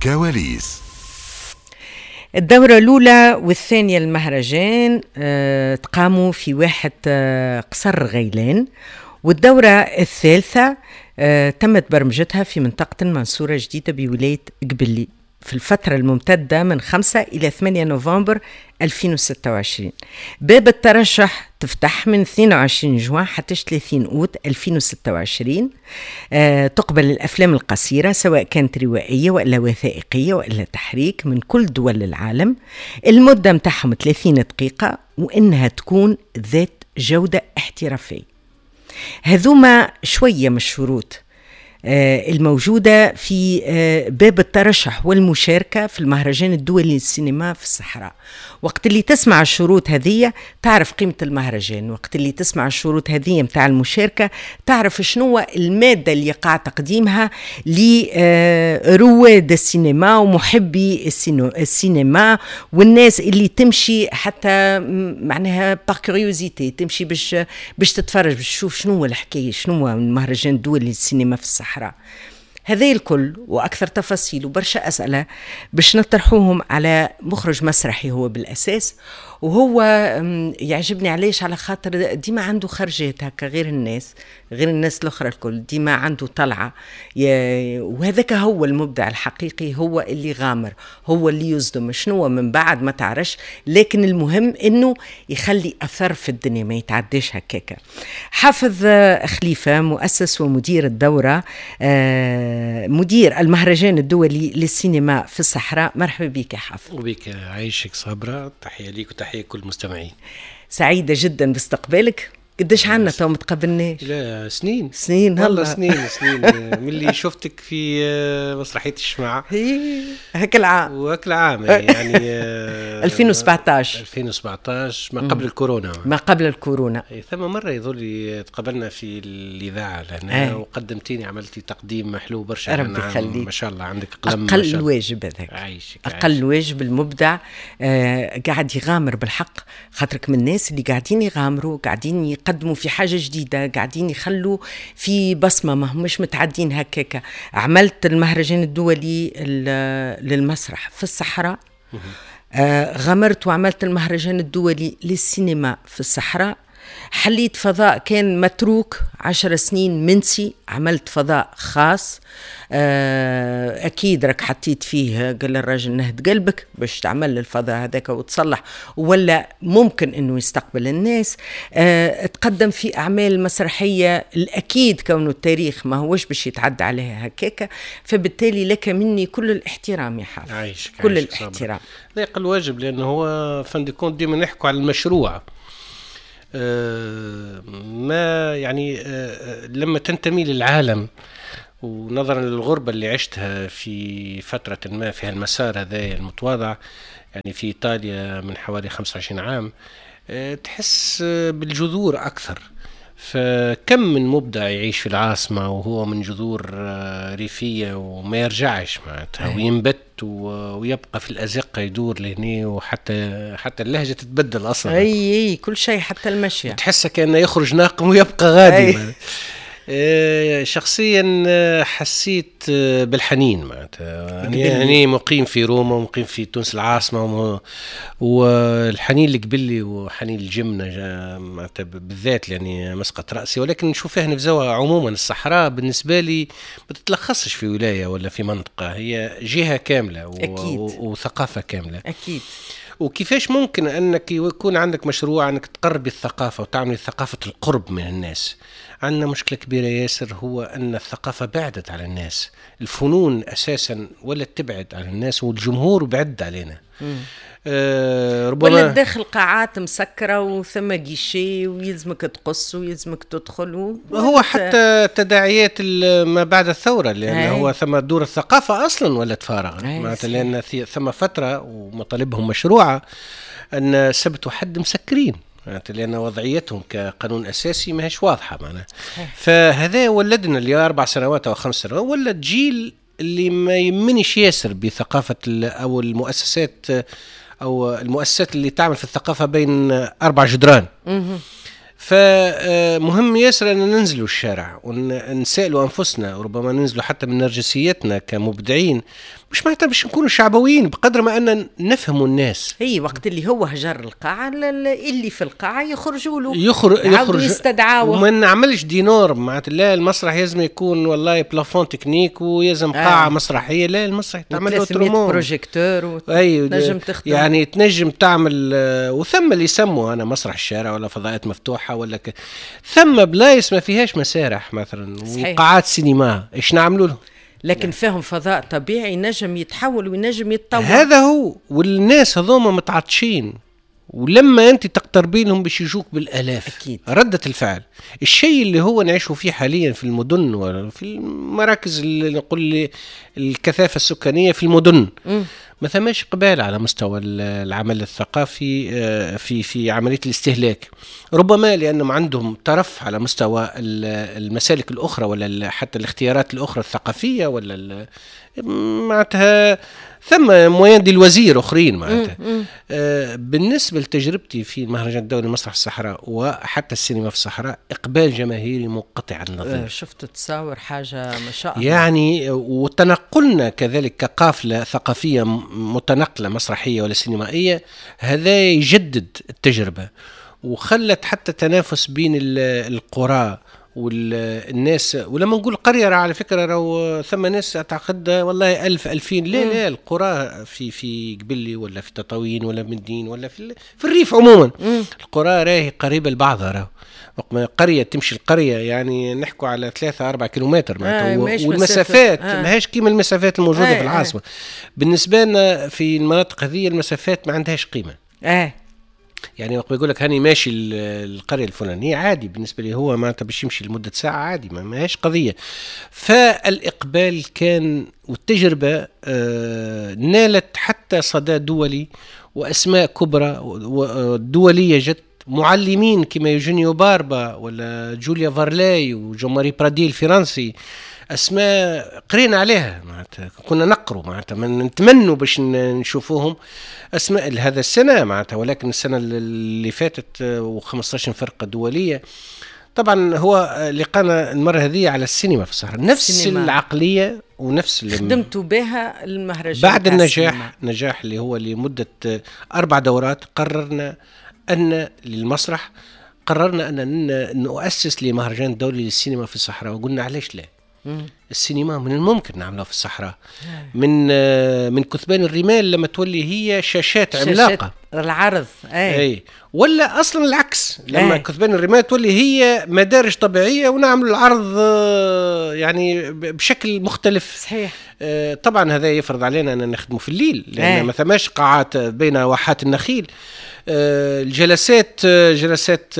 كواليس. الدورة الأولى والثانية المهرجان تقاموا في واحة قصر غيلان، والدورة الثالثة تمت برمجتها في منطقة المنصورة الجديدة بولاية قبلي في الفترة الممتدة من 5 إلى 8 نوفمبر 2026. باب الترشح تفتح من 22 جوان حتى 30 أوت 2026. تقبل الأفلام القصيرة سواء كانت روائية وإلا وثائقية وإلا تحريك من كل دول العالم. المدة متاعهم 30 دقيقة، وإنها تكون ذات جودة احترافية. هذوما شوية من الشروط الموجودة في باب الترشح والمشاركة في المهرجان الدولي للسينما في الصحراء. وقت اللي تسمع الشروط هذه تعرف قيمة المهرجان، وقت اللي تسمع الشروط هذه متاع المشاركة تعرف شنو المادة اللي يقع تقديمها لرواد السينما ومحبي السينما والناس اللي تمشي حتى معناها par curiosité، تمشي باش تتفرج، باش تشوف شنو الحكاية، شنو المهرجان الدولي للسينما في الصحراء. هذا الكل وأكثر تفاصيل وبرشا أسئلة باش نطرحوهم على مخرج مسرحي هو بالأساس، وهو يعجبني علاش؟ على خاطر ديما عنده خرجات هكا غير الناس، غير الناس الأخرى الكل، ديما عنده طلعة، وهذاك هو المبدع الحقيقي، هو اللي غامر، هو اللي يصدم شنو من بعد ما تعرفش، لكن المهم انه يخلي اثر في الدنيا ما يتعداش هكاكا. حافظ خليفة، مؤسس ومدير الدورة، مدير المهرجان الدولي للسينما في الصحراء، مرحبا بك يا حافظ. وبك عايشك صابرة، تحية ليك وتحية كل المستمعين. سعيدة جدا باستقبالك. قداش عنا تو ما تقابلناش؟ لا سنين سنين والله، سنين سنين من اللي شفتك في مسرحية الشمعة هاك العام، وهاك العام يعني 2017 2017 ما قبل الكورونا، ما قبل الكورونا. ثم مرة يظل لي تقابلنا في الإذاعة لهنا وقدمتيني، عملتي تقديم حلو برشا، ربي يخليك، ما شاء الله عندك قلم. أقل واجب هذاك، عايشك، أقل واجب. المبدع قاعد يغامر بالحق، خاطرك من الناس اللي قاعدين يغامروا، قاعدين يقدموا في حاجة جديدة، قاعدين يخلوا في بصمة، ما همش متعدين هكاكا. عملت المهرجان الدولي للمسرح في الصحراء، غامرت وعملت المهرجان الدولي للسينما في الصحراء، حليت فضاء كان متروك 10 سنين منسي، عملت فضاء خاص، أكيد راك حطيت فيه، قال الراجل نهد قلبك باش تعمل الفضاء هذاك وتصلح، ولا ممكن أنه يستقبل الناس. تقدم في أعمال مسرحية الأكيد كونه التاريخ ما هوش باش يتعدى عليها هكاك، فبالتالي لك مني كل الاحترام يا حافظ. عايشك، كل عايشك الاحترام. لا يقل واجب، لأنه هو fin de compte ديما نحكوا على المشروع. ما يعني لما تنتمي للعالم، ونظرا للغربة اللي عشتها في فترة ما في هالمسار هذا المتواضع، يعني في إيطاليا من حوالي 25 عام، تحس بالجذور أكثر. فكم من مبدع يعيش في العاصمة وهو من جذور ريفية وما يرجعش معناتها، وينبت ويبقى في الأزقة يدور لهني، وحتى اللهجة تتبدل أصلا. أي كل شيء، حتى المشي تحسه كأنه يخرج ناقم ويبقى غادي. شخصيا حسيت بالحنين معناتها، يعني مقيم في روما ومقيم في تونس العاصمة، والحنين لقبلي وحنين الجمنة معناتها بالذات، يعني مسقط رأسي. ولكن نشوف فيها نفزوها عموما. الصحراء بالنسبة لي ما تتلخصش في ولاية ولا في منطقة، هي جهة كاملة وثقافة كاملة. أكيد. وكيفاش ممكن أنك يكون عندك مشروع أنك تقربي الثقافة وتعملي ثقافة القرب من الناس؟ عندنا مشكلة كبيرة ياسر، هو أن الثقافة بعدت على الناس، الفنون أساسا ولا تبعد على الناس، والجمهور بعد علينا. ربما ولا داخل قاعات مسكرة وثم guichet ويلزمك تقص ويلزمك تدخل هو حتى تداعيات ما بعد الثورة، لأن هو ثم دور الثقافة أصلا ولا تفارغ، لأن ثم فترة ومطالبهم مشروعة أن سبت وحد مسكرين، لأن وضعيتهم كقانون أساسي ما هيش واضحة معنا. فهذا ولدنا اللي 4 سنوات أو 5 سنوات، ولد جيل اللي ما يمنش ياسر بثقافة أو المؤسسات، أو المؤسسات اللي تعمل في الثقافة بين 4 جدران. فمهم ياسر أن ننزلوا الشارع ونسألوا أنفسنا، وربما ننزلوا حتى من نرجسيتنا كمبدعين، مش معناتها باش نكونوا شعبويين بقدر ما ان نفهموا الناس. اي وقت اللي هو هجر القاعة، اللي في القاعة يخرجوا له، يخرج يستدعاوه. وما نعملش des normes معناتها، لا المسرح لازم يكون والله plafond technique ويلزم قاعة مسرحية، لا المسرح تعمل autrement، projecteur. اي تنجم تخدم، يعني تنجم تعمل. وثم اللي يسموا انا مسرح الشارع ولا فضاءات مفتوحة ولا ثم بلايص ما فيهاش مسارح مثلا وقاعات سينما، ايش نعملوا لهم؟ لكن يعني فيهم فضاء طبيعي نجم يتحول وينجم يتطور. هذا هو، والناس هذوما متعطشين، ولما انت تقتربي لهم باش يجوك بالالاف. اكيد ردة الفعل الشيء اللي هو نعيشه فيه حاليا في المدن وفي المراكز اللي نقول الكثافة السكانية في المدن، ما ثماش قبال على مستوى العمل الثقافي في عملية الاستهلاك، ربما لأنهم عندهم ترف على مستوى المسالك الأخرى ولا حتى الاختيارات الأخرى الثقافية ولا معناتها ثم moyens de loisirs أخرين معناتها. بالنسبة لتجربتي في المهرجان الدولي لمسرح الصحراء وحتى السينما في الصحراء، إقبال جماهيري منقطع النظير. شفت تصاور حاجة ما شاء الله يعني. وتنقلنا كذلك كقافلة ثقافية متنقلة مسرحية ولا سينمائية، هذا يجدد التجربة وخلت حتى تنافس بين القرى والناس. ولما نقول قرية على فكرة راهو ثم ناس تعتقد والله 1000 2000، لا لا، القرى في قبلي ولا في تطاوين ولا مدين ولا في الريف عموما، القرى راهي قريبة لبعضها. راهو قرية تمشي القرية يعني نحكوا على 3-4 كيلومتر معناتها، والمسافات ماهيش كيما المسافات الموجودة في العاصمة. بالنسبة لنا في المناطق هذه المسافات ما عندهاش قيمة. يعني وقت يقول لك هاني ماشي القرية الفلانية عادي بالنسبة لي، هو معناتها باش يمشي لمدة ساعة عادي، ما هيش قضية. فالإقبال كان والتجربة نالت حتى صدى دولي وأسماء كبرى دولية جت، معلمين كما يوجينيو باربا ولا جوليا فارلاي وجون ماري برادي الفرنسي، أسماء قرينا عليها معناتها، كنا نقروا معناتها نتمنوا باش نشوفوهم أسماء هذا السنة معناتها، ولكن السنة اللي فاتت و15 فرقة دولية. طبعا هو لقانا المرة هذه على السينما في الصحراء، نفس السينما. العقلية ونفس اللي خدمتوا بها المهرجان بعد النجاح، نجاح اللي هو لمدة 4 دورات. قررنا أن للمسرح، قررنا أن نؤسس لمهرجان دولي للسينما في الصحراء، وقلنا علاش لا؟ السينما من الممكن نعملها في الصحراء، من كثبان الرمال لما تولي هي شاشات عملاقة العرض، أي. ولا أصلا العكس، لما كثبان الرمال تولي هي مدارج طبيعية ونعمل العرض يعني بشكل مختلف. صحيح. طبعا هذا يفرض علينا أن نخدمه في الليل، لأن ما ثماش قاعات بين واحات النخيل. الجلسات جلسات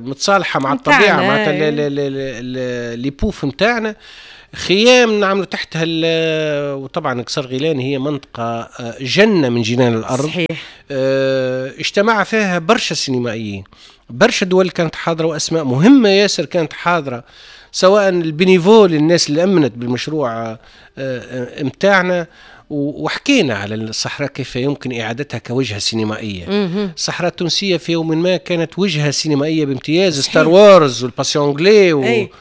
متصالحة مع الطبيعة، معناتها les poufs نتاعنا، خيام نعملوا تحتها. وطبعا قصر غيلان هي منطقة جنة من جنان الأرض. صحيح. اجتمع فيها برشا سينمائيين، برشا دول كانت حاضرة، وأسماء مهمة ياسر كانت حاضرة، سواء ال bénévoles الناس اللي أمنت بالمشروع متاعنا. وحكينا على الصحراء كيف يمكن إعادتها كوجهة سينمائية. الصحراء التونسية في يوم ما كانت وجهة سينمائية بامتياز، Star Wars وال Patient anglais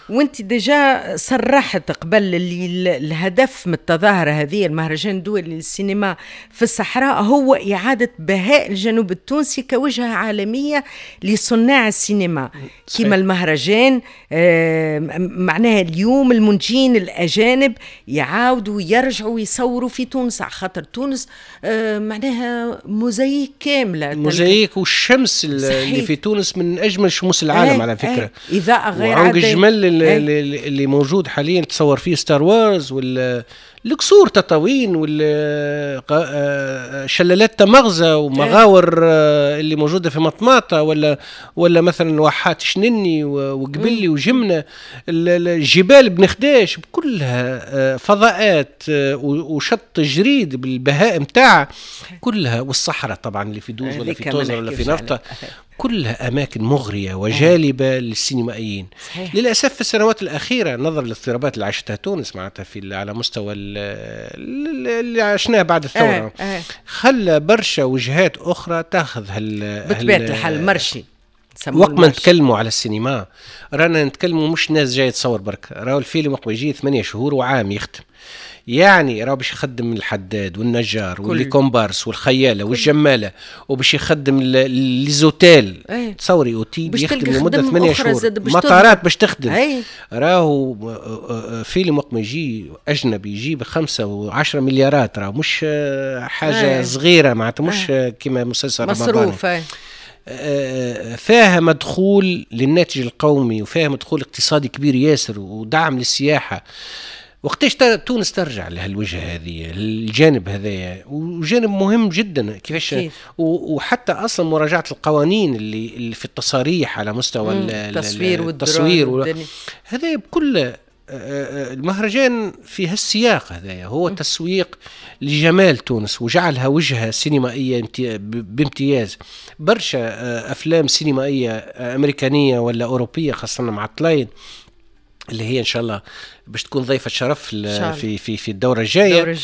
وانت déjà صرحت قبل اللي الهدف من التظاهرة هذه المهرجان الدولي للسينما في الصحراء هو إعادة بهاء الجنوب التونسي كوجهة عالمية لصناع السينما. كما المهرجان معناها اليوم المنتجين الأجانب يعاودوا يرجعوا يصوروا في تونس، على خاطر تونس معناها موزايك كاملة، موزايك. والشمس اللي في تونس من أجمل شموس العالم على فكرة. إضاءة غير عادية. وعنق الجمل اللي موجود حاليا تصور فيه Star Wars، والقصور تطاوين، والشلالات تمغزة، ومغاور اللي موجودة في مطماطة، ولا مثلا واحات شنني وقبلي وجمنة، الجبال بنخداش، كلها فضاءات، وشط جريد بالبهاء متاعها كلها، والصحراء طبعا اللي في دوز ولا في توزر ولا في نفطة، كلها أماكن مغرية وجالبة للسينمائيين. صحيح. للأسف في السنوات الأخيرة نظرا للاضطرابات اللي عاشتها تونس معناتها في على مستوى اللي عشناه بعد الثورة، خلى برشا وجهات أخرى تاخذ بطبيعة الحال marché. وقت ما نتكلموا على السينما رانا نتكلموا مش ناس جاية تصور برك، راهو الفيلم وقت ما يجي 8 شهور وعام يختم، يعني راهو باش يخدم الحداد والنجار و les comparses والخياله والجماله، وباش يخدم les hôtels. تصوري اوتيل يخدم لمدة 8 شهور، مطارات باش تخدم. راهو فيلم وقت ما يجي اجنبي يجي ب5 و10 مليارات، راهو مش حاجة صغيرة، معناتها مش كيما مسلسل مصروف. فيها مدخول للناتج القومي وفيها مدخول اقتصادي كبير ياسر ودعم للسياحة. وقتاش تونس ترجع لهالوجهة هذه، الجانب هذايا، وجانب مهم جدا كيفاش، وحتى اصلا مراجعة القوانين اللي في التصاريح على مستوى التصوير هذا بكل. المهرجان في هالسياق هذايا هو تسويق لجمال تونس وجعلها وجهة سينمائية بامتياز. برشا أفلام سينمائية أمريكانية ولا أوروبية، خاصة مع الطلاين اللي هي إن شاء الله باش تكون ضيفة شرف في في في الدورة الجاية،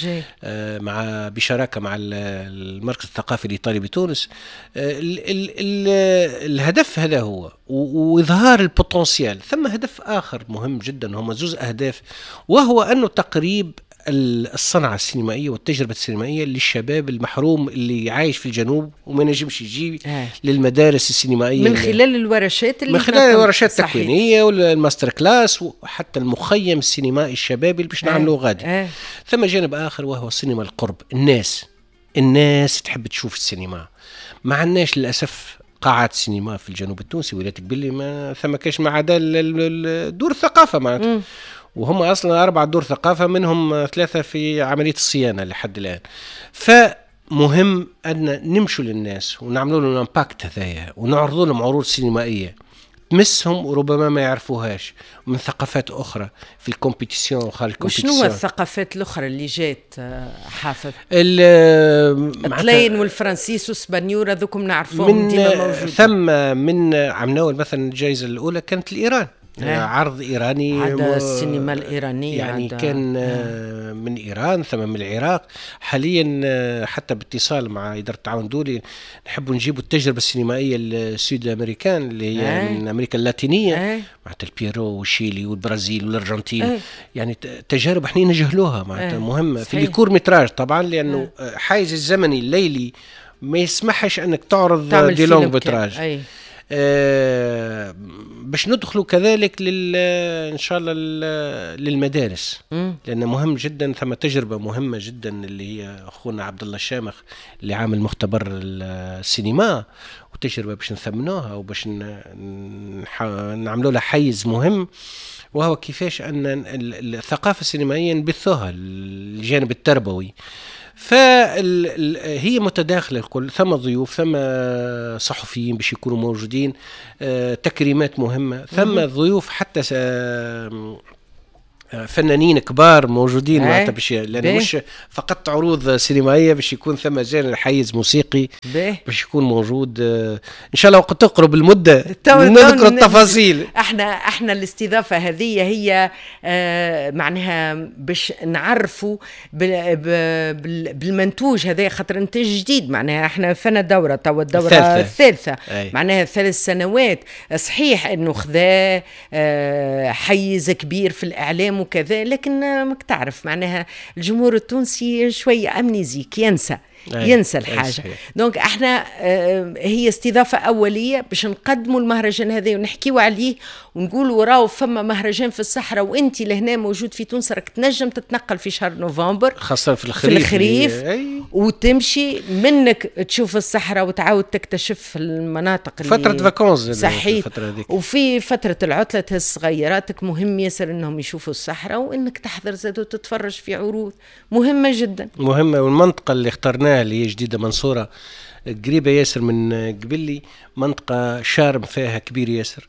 مع بشراكة مع المركز الثقافي الإيطالي بتونس. ال ال ال الهدف هذا هو، وإظهار ال potentiel. ثم هدف آخر مهم جدا، هما زوز أهداف، وهو أنه تقريب الصنعة السينمائية والتجربة السينمائية للشباب المحروم اللي عايش في الجنوب وما نجمش يجي للمدارس السينمائية، من خلال الورشات اللي من خلال الورشات التكوينية وال master class وحتى المخيم السينمائي الشبابي اللي باش نعملوه غادي. ثم جانب آخر وهو السينما القرب. الناس تحب تشوف السينما، ما عندناش للأسف قاعات سينما في الجنوب التونسي، ولاية قبلي ما ثم كاش ما عدا دور الثقافة معناتها، وهم اصلا 4 دور ثقافة منهم 3 في عملية الصيانة لحد الان. فمهم ان نمشوا للناس ونعملوا لهم impact هذايا ونعرضوا لهم عروض سينمائية تمسهم وربما ما يعرفوهاش من ثقافات اخرى في ال compétition وخارج ال compétition. وشنو الثقافات الاخرى اللي جات حافظ؟ الطلاين والفرنسيس والسبانيور هذوكم نعرفوهم ديما موجودين. ثم من عمناول مثلا الجائزة الاولى كانت الايران، عرض إيراني، عدا السينما الإيرانية يعني كان من إيران ثم من العراق. حاليا حتى باتصال مع إدارة التعاون الدولي نحب نجيبوا التجربة السينمائية ال sud-américaine اللي هي من أمريكا اللاتينية، معناتها البيرو والشيلي والبرازيل والأرجنتين، يعني تجارب احنا نجهلوها معناتها مهمة في les courts métrages طبعا، لأنه حيز الزمني الليلي ما يسمحش أنك تعرض des longs métrages. باش ندخلوا كذلك ان شاء الله للمدارس، لان مهم جدا. ثم تجربه مهمة جدا اللي هي اخونا عبد الله الشامخ اللي عامل مختبر السينما، وتجربه باش نثمنوها وباش نعملوا لها حيز مهم، وهو كيفاش ان الثقافة السينمائية نبثوها الجانب التربوي. فهي متداخلة الكل، ثم ضيوف، ثم صحفيين باش يكونوا موجودين، تكريمات مهمة، ثم ضيوف حتى فنانين كبار موجودين معناتها باش، لأن مش فقط عروض سينمائية، باش يكون ثم جانب حيز موسيقي باش يكون موجود. إن شاء الله وقت تقرب المدة نذكر التفاصيل. احنا الاستضافة هذه هي معناها باش نعرفوا بالمنتوج هذا، خاطر انتاج جديد، معناها احنا فنا دورة توا الدورة الثالثة، معناها 3 سنوات. صحيح انه خذا حيز كبير في الإعلام وكذا، لكن ماك تعرف معناها الجمهور التونسي شوية amnésique، ينسى الحاجة. donc احنا هي استضافة أولية باش نقدموا المهرجان هذا ونحكيو عليه ونقولوا راهو فما مهرجان في الصحراء، وانت لهنا موجود في تونس راك تنجم تتنقل في شهر نوفمبر خاصة في الخريف، وتمشي منك تشوف الصحراء وتعاود تكتشف المناطق اللي فترة vacances. صحيح، وفي فترة العطلة تهز صغيراتك مهم ياسر انهم يشوفوا الصحراء، وانك تحضر زاد وتتفرج في عروض مهمة جدا مهمة. والمنطقة اللي اخترناها اللي هي جديدة منصورة قريبة ياسر من قبلي، منطقة charme فيها كبير ياسر،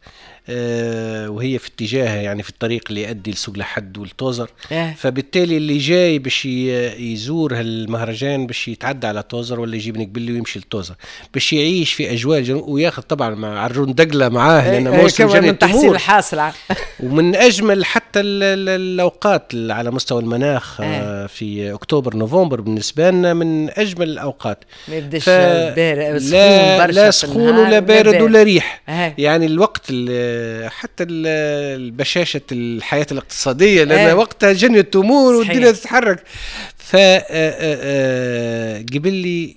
وهي في اتجاه يعني في الطريق اللي يؤدي لسوق لحد والتوزر. فبالتالي اللي جاي باش يزور هالمهرجان باش يتعدى على توزر ولا يجيب من قبلي ويمشي لتوزر باش يعيش في اجواء الجنوب، وياخذ طبعا مع عرجون دقله معاه لان موسم جني التحصيل الحاصل. ومن اجمل حتى الاوقات على مستوى المناخ في اكتوبر نوفمبر بالنسبة لنا من اجمل الاوقات. ما يبداش سخون برشا، لا سخون ولا بارد ولا ريح. يعني الوقت حتى البشاشة الحياة الاقتصادية، لأن وقتها جني التمور والدنيا تتحرك. ف قبلي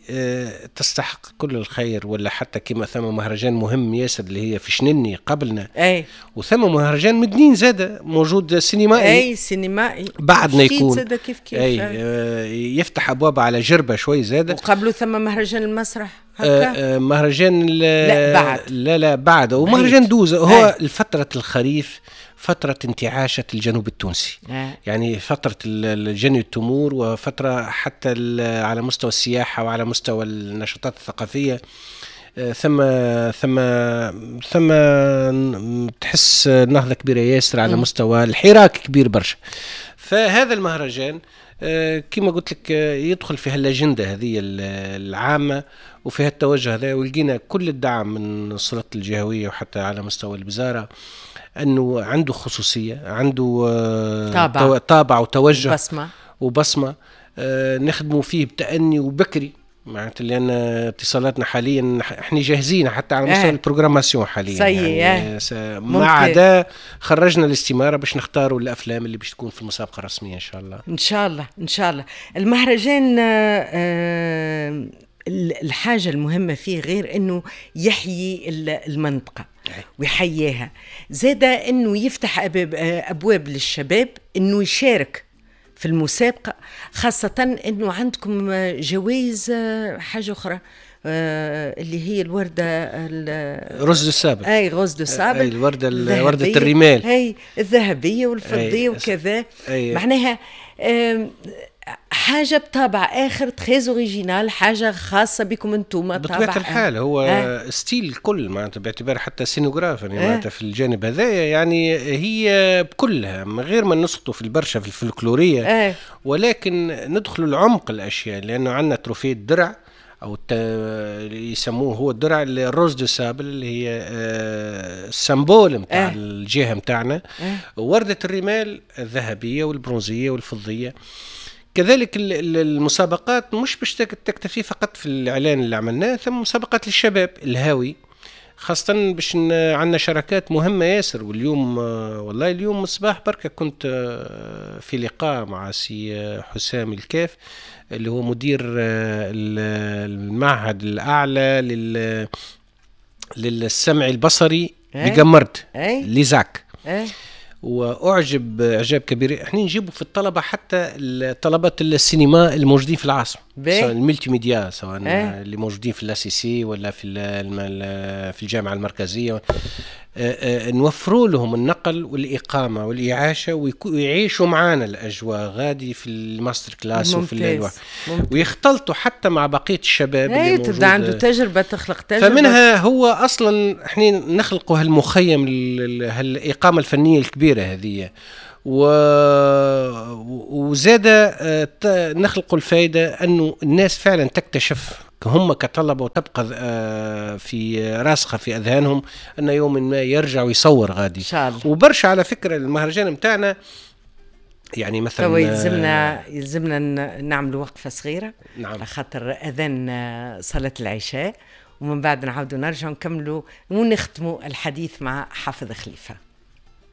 تستحق كل الخير. ولا حتى كما ثم مهرجان مهم ياسر اللي هي في شنني قبلنا، وثم مهرجان مدنين زادة موجود سينمائي، اي سينمائي بعدنا يكون زادة كيف كيف، يفتح ابواب على جربة شوي زادة. وقبله ثم مهرجان المسرح هكا، مهرجان لا بعد، لا بعد، ومهرجان دوزة. هو الفترة الخريف فترة انتعاشة الجنوب التونسي، يعني فترة الجني التمور، وفترة حتى على مستوى السياحة وعلى مستوى النشاطات الثقافية. ثم ثم ثم تحس نهضة كبيرة ياسر على مستوى الحراك كبير برشا. فهذا المهرجان كما قلت لك يدخل في هالأجندة هذه العامة وفي هالتوجه هذا، ولقينا كل الدعم من السلطة الجهوية وحتى على مستوى الوزارة، أنه عنده خصوصية، عنده طابع وتوجه وبصمة نخدموا فيه بتأني وبكري، معناتها لأن اتصالاتنا حاليا احنا جاهزين حتى على مستوى ال programmation حاليا، يعني ما عدا خرجنا الاستمارة باش نختاروا الأفلام اللي باش تكون في المسابقة الرسمية إن شاء الله. إن شاء الله إن شاء الله. المهرجان الحاجة المهمة فيه غير أنه يحيي المنطقة ويحييها، زاد أنه يفتح أبواب للشباب أنه يشارك في المسابقة، خاصة أنه عندكم جوائز حاجة أخرى اللي هي الوردة rose de sable، أي rose de sable، أي الوردة، وردة الرمال، أي الذهبية والفضية وكذا. معناها حاجة بطابع آخر très original، حاجة خاصة بكم أنتم. بطبيعة الحال هو style الكل معناتها، باعتبار حتى scénographe يعني معناتها في الجانب هذايا، يعني هي بكلها من غير ما نسقطوا في البرشا في الفلكلورية، ولكن ندخلوا العمق الأشياء، لأنه عندنا trophée الدرع أو يسموه هو الدرع ال rose de sable اللي هي ال symbole نتاع الجهة نتاعنا، وردة الرمال الذهبية والبرونزية والفضية. كذلك المسابقات مش باش تكتفي فقط في الإعلان اللي عملناه، ثم مسابقات للشباب الهاوي، خاصة باش عندنا شراكات مهمة ياسر. واليوم والله اليوم الصباح بركة كنت في لقاء مع سي حسام الكاف اللي هو مدير المعهد الأعلى للسمع البصري بقمرت l'ISAC، واعجب اعجاب كبير. احنا نجيبوا في الطلبة حتى طلبه السينما الموجودين في العاصمة، سواء ال multimédia، سواء اللي موجودين في l'ACC ولا في الجامعة المركزية، نوفروا لهم النقل والاقامة والاعاشه ويعيشوا معانا الاجواء غادي في ال master class وفي ويختلطوا حتى مع بقية الشباب اللي موجود. تبدا عنده تجربه، تخلق تجربه. فمنها هو اصلا احنا نخلقوا هالمخيم، هالاقامه الفنية الكبيرة هذه، وزاد نخلقوا الفائدة انه الناس فعلا تكتشف هم كطلبة وتبقى في راسخة في أذهانهم أن يوم ما يرجع ويصور غادي إن شاء الله. وبرشا على فكرة المهرجان متاعنا يعني مثلا يلزمنا نعمل وقفة صغيرة، نعم، خاطر أذان صلاة العشاء، ومن بعد نعاودوا نرجعوا نكملوا ونختموا الحديث مع حافظ خليفة.